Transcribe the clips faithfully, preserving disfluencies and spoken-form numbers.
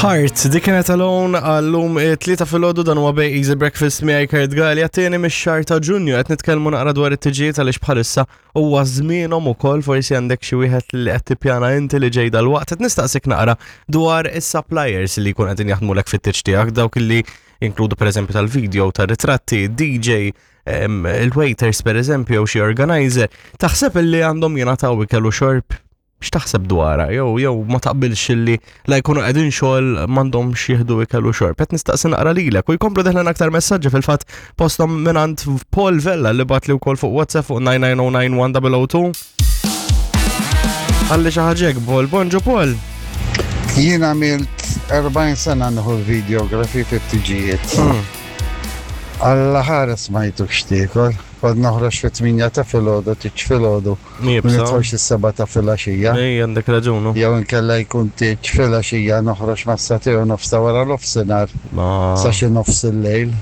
Heart, dik kienet Alone għallum tlieta filgħodu. Dan huwa Bay Easy Breakfast miegħi Kurt Galea, tieni mix-xahar ta' Ġunju. Qed nitkellmu naqra dwar it-tiġijiet għaliex bħalissa huwa żmienhom ukoll. Forsi għandek xi wieħed li qed tippjana inti li ġej dal-waqt. Qed nistaqsik naqra dwar is-suppliers li jkun qegħdin jaħdmulek fit-tieġ tiegħek, dawk li inkludu pereżempju tal-video, tar-ritratti, D J, em, il-waiters pereżempju, jew xi organizer. Taħseb li għandhom jingħataw ikel u xorb? X'taħseb dwarha? Jew jew ma taqbilx li la jkunu qegħdin xogħol m'għandhomx jieħdu ikel u xorb? Qed nistaqsi naqra lilek u jkomplu deħlin aktar messaġġi, fil-fatt postom mingħand Paul Vella li bagħatli wkoll fuq WhatsApp fuq nine nine zero nine one zero zero two. Għalli xi ħaġa hekk, Paul. Bonġu, Paul. Jien għamilt erbgħin sena nieħu videografi fit-tiġijiet. Alla ħares ma jtuk x'tiekol. Kont noħroġ fit-tmienja ta' filgħodu, tieġ filgħodu. Iebsa. Nidħol is-sebgħa ta' filgħaxija. Ej, għandek raġunu. Jew inkella jkun tieġ filgħaxija, noħroġ mas-sagħtejn u nofs ta' wara nofsinhar Ma sa xi nofs il-lejl.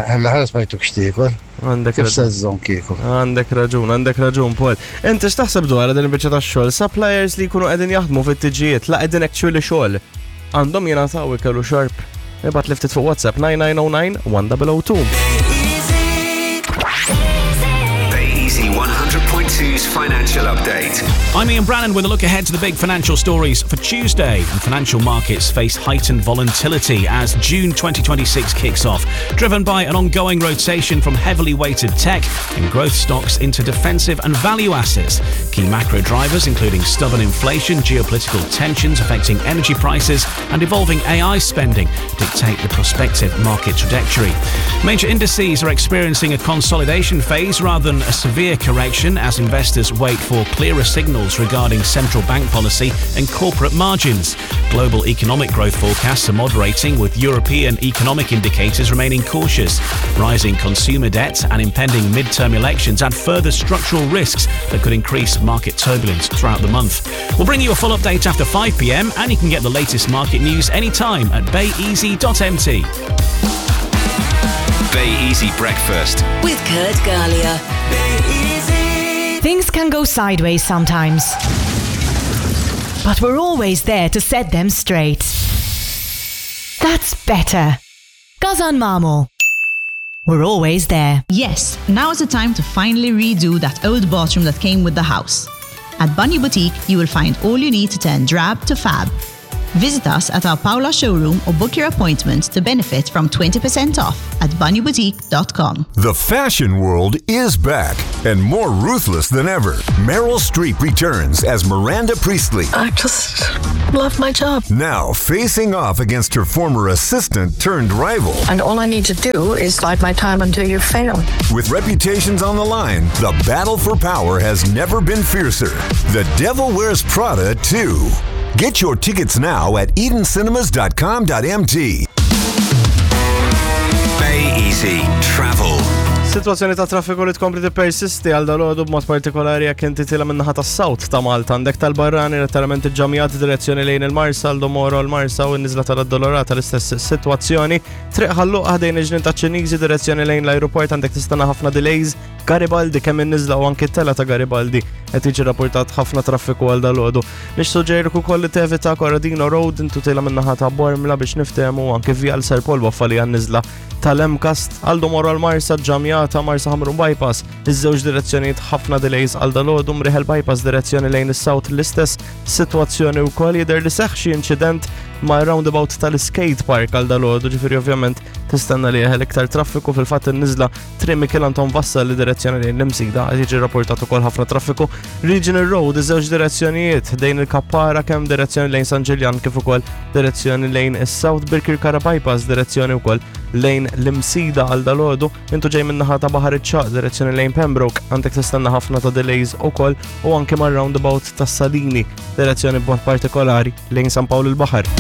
Alla ħares ma jtuk x'tiekol. Għandek Kif raġun. se żżomm kieku? Għandek raġun, għandek raġun, Paul. Inti x'taħseb dwar din il-biċċa tax-xogħol? Suppliers li jkunu qegħdin jaħdmu fit-tiġijiet, la qegħdin actually xogħol, għandhom jingħataw ikel u xorb? Ibgħat li ftit fuq WhatsApp nine nine zero nine one zero zero two. Bay Easy one hundred point two's financial update. I'm Ian Brannan with a look ahead to the big financial stories for Tuesday. And financial markets face heightened volatility as June twenty twenty-six kicks off, driven by an ongoing rotation from heavily weighted tech and growth stocks into defensive and value assets. Key macro drivers, including stubborn inflation, geopolitical tensions affecting energy prices, and evolving A I spending, dictate the prospective market trajectory. Major indices are experiencing a consolidation phase rather than a severe correction as investors wait for clearer signals regarding central bank policy and corporate margins. Global economic growth forecasts are moderating, with European economic indicators remaining cautious. Rising consumer debt and impending midterm elections add further structural risks that could increase market turbulence throughout the month. We'll bring you a full update after five p m and you can get the latest market news anytime at bayeasy dot M T. Bay Easy Breakfast. With Kurt Galea. Things can go sideways sometimes. But we're always there to set them straight. That's better. GasanMamo. We're always there. Yes, now is the time to finally redo that old bathroom that came with the house. At Bunny Boutique, you will find all you need to turn drab to fab. Visit us at our Paola showroom or book your appointment to benefit from twenty percent off at bunnyboutique dot com. The fashion world is back and more ruthless than ever. Meryl Streep returns as Miranda Priestley. I just love my job. Now facing off against her former assistant turned rival. And all I need to do is bide my time until you fail. With reputations on the line, the battle for power has never been fiercer. The Devil Wears Prada two. Get your tickets now at edencinemas dot com dot M T. Bay Easy Travel. Situazzjoni ta' traffiku li tkompli tippersisti għal dalgħodu, b'mod partikolari jekk inti tiela' min-naħa tas-south ta' Malta. Għandek tal-Barrani letteralment iġġamjat direzzjoni lejn il-Marsa, l-Domoro, l-Marsa u n-nizla tal-Addolorata l-istess situazzjoni. Triq Ħal Luqa ħdejn il-Ġnien taċ-Ċiniżi direzzjoni lejn l-aeroport għandek tistenna ħafna delays. Garibaldi, kemm in-nizla u anki t-tela ta' Garibaldi, qed jiġi rapportat ħafna traffiku għal dalgħodu. Nissuġġerik ukoll li tevita Corradino Road intu tiela' min-naħa ta' Bormla biex niftehmu, anke Vjal Sir Paul Boffa li għan-nizla tal-Emkast. Għal Moro l-Marsa ġamjata, Marsa Ħamrun Bypass, iż-żewġ direzzjonijiet ħafna delays għal dalgħodu. Mriħel Bypass direzzjoni lejn is-south l-istess sitwazzjoni wkoll. Jidher li seħħ xi inċident ma' roundabout tal-skate park għal dalgħodu, ġifieri ovvjament tistenna li jeħel iktar traffiku. Fil-fatt in-niżla Triq Mikiel Anton Vassa li direzzjoni lejn l-Imsida qed jiġi rapportat ukoll ħafna traffiku. Regional Road iż-żewġ direzzjonijiet ħdejn il-Kappara, kemm direzzjoni lejn San Ġiljan kif ukoll direzzjoni lejn is-South. Birkirkara Bypass direzzjoni wkoll lejn l-Imsida għal dalgħodu. Intu ġej min-naħa ta' Baħar iċ-Ċagħaq direzzjoni lejn Pembroke għandek tistenna ħafna ta' delays ukoll, u anke mar-roundabout tas Salini direzzjoni b'mod partikolari lejn San Pawl il-Baħar.